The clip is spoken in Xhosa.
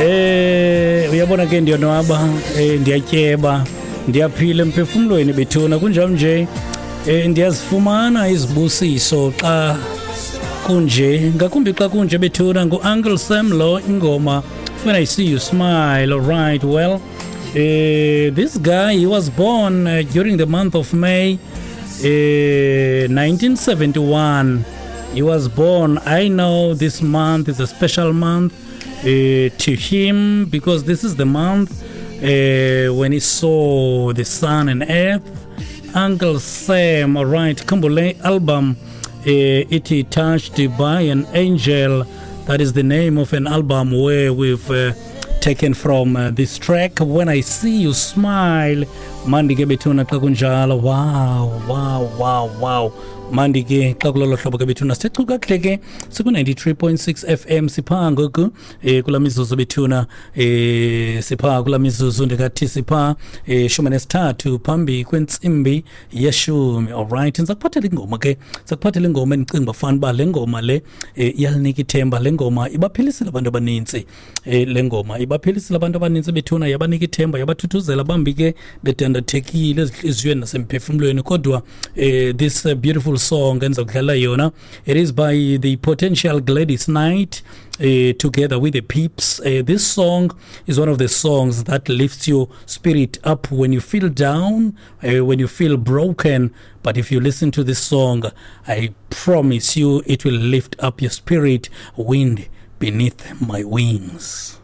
Uyabona ke, ndiyonwaba, ndiyatyeba, ndiyaphila emphefumlweni bethuna. Kunjalo nje, ndiyazifumana izibusiso xa kunje, ngakumbi xa kunje bethuna. Ngu-Uncle Sam lo, ingoma "When I See You Smile". All right, well, this guy, he was born during the month of May 1971. He was born. I know this month is a special month to him because this is the month when he saw the sun and earth. Uncle Sam, all right, khumbule album ithi "Touched by an Angel". That is the name of an album where we've taken from this track, "When I See You Smile". Mandi ke bethuna xa kunjalo. Wow, mandi ke xa kulolo hlobo ke bethuna. Sithe kakuhle ke, siku-93.6 FM. Sipha ngoku kula mizuzu bethuna, sipha kula mizuzu, ndikathi sipha 13 phambi kwentsimbi yeshumi. Alright, ndizakuphathela ingoma ke, ndizakuphathela ingoma endicinga uba fana uba le ngoma le iyalinika ithemba. Le ngoma ibaphilisile abantu abanintsi, le ngoma ibaphilisile abantu abanintsi bethuna, yabanika ithemba, yabathuthuzela. Bambi ke bedandathekile ezintliziyweni nasemphefumlweni, kodwa this beautiful song endiza kudlala yona, it is by the Potential Gladys Knight together with the Pips. This song is one of the songs that lifts your spirit up when you feel down, when you feel broken. But if you listen to this song, I promise you it will lift up your spirit. "Wind Beneath My Wings".